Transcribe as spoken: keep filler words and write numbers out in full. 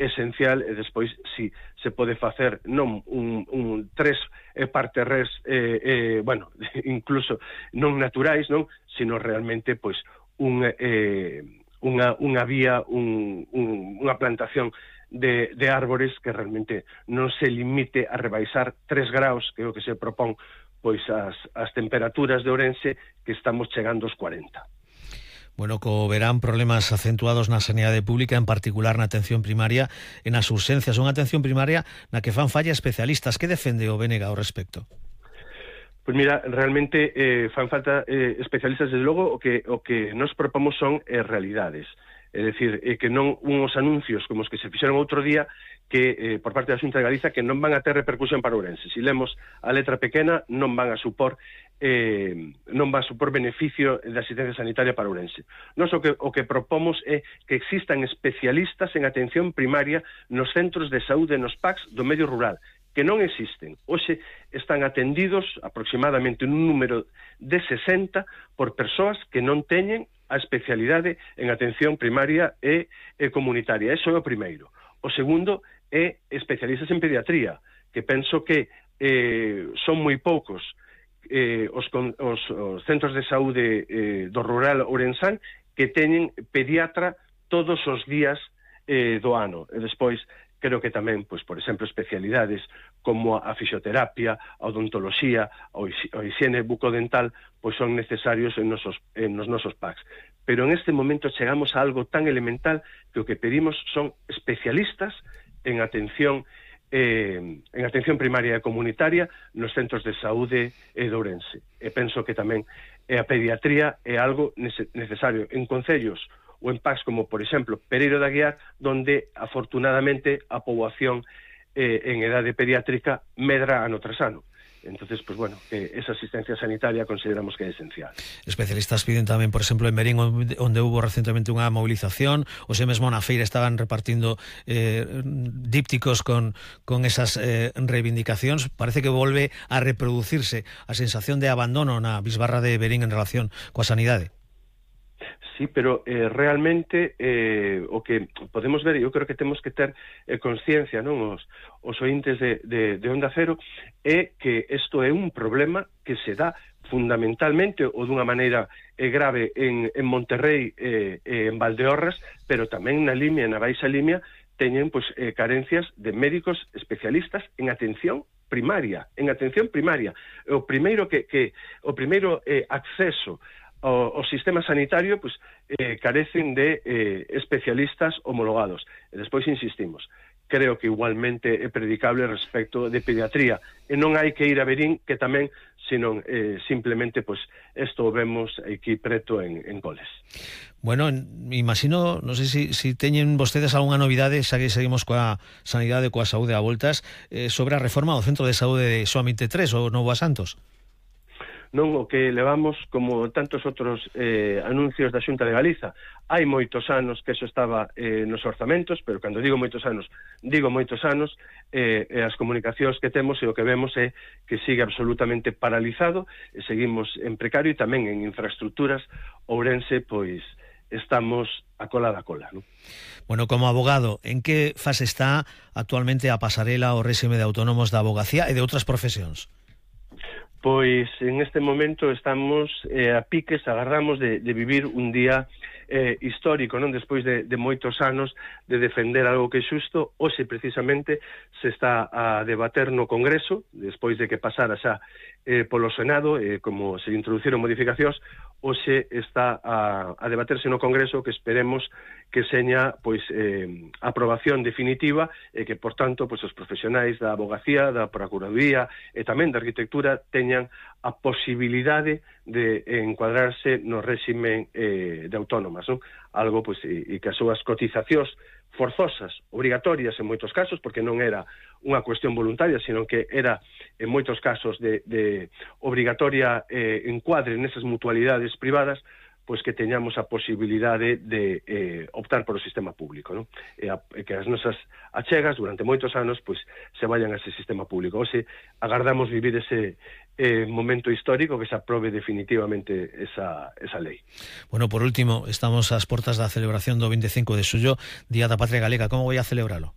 esencial, e despois si se pode facer non un, un tres parterres eh, eh, bueno, incluso non naturais, non, sino realmente pois un, eh, unha, unha vía, un, un, unha plantación de, de árbores que realmente non se limite a rebaixar tres graus, que é o que se propón pois as, as temperaturas de Ourense, que estamos chegando aos cuarenta. Bueno, co verán problemas acentuados na sanidade pública, en particular na atención primaria e nas urxencias. Unha atención primaria na que fan falla especialistas. Que defende o B N G ao respecto? Pois mira, realmente eh, fan falta eh, especialistas, desde logo, o que, o que nos propomos son eh, realidades. É dicir, eh, que non uns anuncios como os que se fixeron outro día, que eh, por parte da Xunta de Galiza, que non van a ter repercusión para Ourense. Se lemos a letra pequena, non van a supor eh, non va a supor beneficio da asistencia sanitaria para Ourense. Nos o que, o que propomos é que existan especialistas en atención primaria nos centros de saúde, nos P A Cs do medio rural, que non existen. Hoxe están atendidos aproximadamente un número de sesenta por persoas que non teñen a especialidade en atención primaria e, e comunitaria. Eso é o primeiro. O segundo é especialistas en pediatría, que penso que eh, son moi poucos eh, os, os, os centros de saúde eh, do rural ourensán que teñen pediatra todos os días eh, do ano. E despois, creo que tamén, pois, por exemplo, especialidades como a fisioterapia, a odontoloxía, o higiene bucodental, pois son necesarios en, nosos, en nos nosos P A Cs. Pero en este momento chegamos a algo tan elemental que o que pedimos son especialistas en atención eh, en atención primaria e comunitaria nos centros de saúde e de Ourense. E penso que tamén a pediatría é algo necesario en concellos ou en P A Cs como, por exemplo, Pereiro de Aguiar, donde, afortunadamente, a poboación eh, en edade pediátrica medra ano tras ano. Entonces, pues bueno, que esa asistencia sanitaria consideramos que é esencial. Especialistas piden tamén, por exemplo, en Merín, onde hubo recentemente unha movilización, o xe mesmo na feira estaban repartindo eh, dípticos con, con esas eh, reivindicacións. Parece que volve a reproducirse a sensación de abandono na bisbarra de Verín en relación coa sanidade. Sí, pero eh, realmente eh, o que podemos ver, eu creo que temos que ter eh, consciencia, non, os, os ointes de, de, de Onda Cero, é que isto é un problema que se dá fundamentalmente ou dunha maneira eh, grave en, en Monterrey e eh, en Valdeorras, pero tamén na Limia e na Baixa Limia teñen pois, eh, carencias de médicos especialistas en atención primaria, en atención primaria. O primeiro que, que o primeiro eh, acceso O, o sistema sanitario pues, eh, carecen de eh, especialistas homologados. E despois insistimos, creo que igualmente é predicable respecto de pediatría, e non hai que ir a Verín, que tamén, sino eh, simplemente pues, esto o vemos aquí preto en, en Coles. Bueno, imagino, non sei se si, si teñen vostedes algunha novidade, xa que seguimos coa sanidade, coa saúde a voltas, eh, sobre a reforma do Centro de Saúde de Soa vinte e tres, o Novo a Santos. Non o que levamos como tantos outros eh, anuncios da Xunta de Galiza. Hai moitos anos que eso estaba eh, nos orzamentos, pero cando digo moitos anos, digo moitos anos, eh, e as comunicacións que temos e o que vemos é que sigue absolutamente paralizado, e seguimos en precario, e tamén en infraestructuras. Ourense, pois, estamos a cola da cola, non? Bueno, como abogado, en que fase está actualmente a pasarela o réxime de autónomos da abogacía e de outras profesións? Pois en este momento estamos eh, a piques, agarramos de, de vivir un día eh, histórico, non? Despois de, de moitos anos de defender algo que é xusto. Hoxe precisamente se está a debater no Congreso, despois de que pasara xa eh, polo Senado, eh, como se introduciron modificacións, hoxe está a, a debaterse no Congreso, que esperemos que seña pois eh, aprobación definitiva e que, por tanto, pois os profesionais da abogacía, da procuraduría e tamén da arquitectura teñan a posibilidade de encuadrarse no réxime eh, de autónomas, non? Algo pois e, e que as súas cotizacións forzosas, obrigatorias en moitos casos, porque non era unha cuestión voluntaria, sino que era en moitos casos de, de obrigatoria eh, encuadre nesas mutualidades privadas, pois que teñamos a posibilidade de eh, optar por o sistema público, non? E, a, e que as nosas achegas durante moitos anos pois se vayan a ese sistema público. Oxe, agardamos vivir ese eh, momento histórico, que se aprobe definitivamente esa, esa lei. Bueno, por último, estamos ás portas da celebración do vinte e cinco de xullo, Día da Patria Galega. Como vai a celebralo?